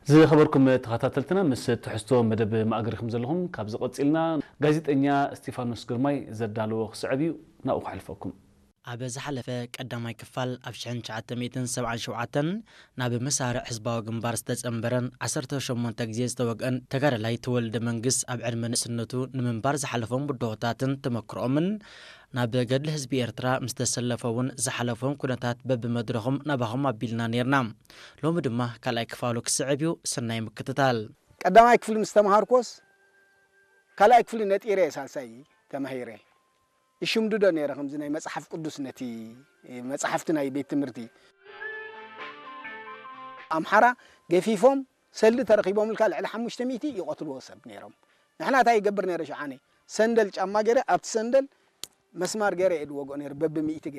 ዝኸበርኩም ተኸታተልትና፣ ምስ ትሕዝቶ መደብ ማእገሪኹም ዘለኹም። ካብዚ ቀጺልና ጋዜጠኛ እስጢፋኖስ ግርማይ ዘዳለዎ ክስዕብ እዩ፣ ናብኡ ከሕልፈኩም። ኣብ ዝሓለፈ ቀዳማይ ክፋል ኣብ ሽሕን ትሽዓተ ሚእትን ሰብዓን ሸውዓተን ናብ መሳርዕ ህዝባዊ ግንባር ዝተጸንበረን ዓሰርተ ሸሞንተ ግዜ ዝተወግአን ተጋዳላይ ተወልደ መንግስ ኣብ ዕድመ ንእስነቱ ንምንባር ዝሓለፎም ብድሆታትን ተመክሮኦምን ናብ ገድሊ ህዝቢ ኤርትራ ምስ ተሰለፈ እውን ዝሓለፎም ኩነታት በብመድረኹም ናባኹም ኣቢልና ነይርና። ሎሚ ድማ ካልኣይ ክፋሉ ክስዕብ እዩ። ሰናይ ምክትታል። ቀዳማይ ክፍሊ ምስ ተምሃርኮስ ካልኣይ ክፍሊ ነጢረ እየ ሳልሳይ ተማሂረ። ይሽምድዶ ነይረ ከምዚ ናይ መጽሓፍ ቅዱስ ነቲ መጽሓፍቲ ናይ ቤት ትምህርቲ። ኣምሓራ ገፊፎም ሰልዲ ተረኺቦምልካ ልዕሊ ሓሙሽተ ሚእቲ ይቐትልዎ ሰብ ነይሮም። ንሕና እንታይ ይገብር ነይረ ሸዓነ ሰንደል ጫማ ገይረ ኣብቲ ሰንደል መስማር ገይረ እየ ድወግኦ ነይረ በብሚእቲ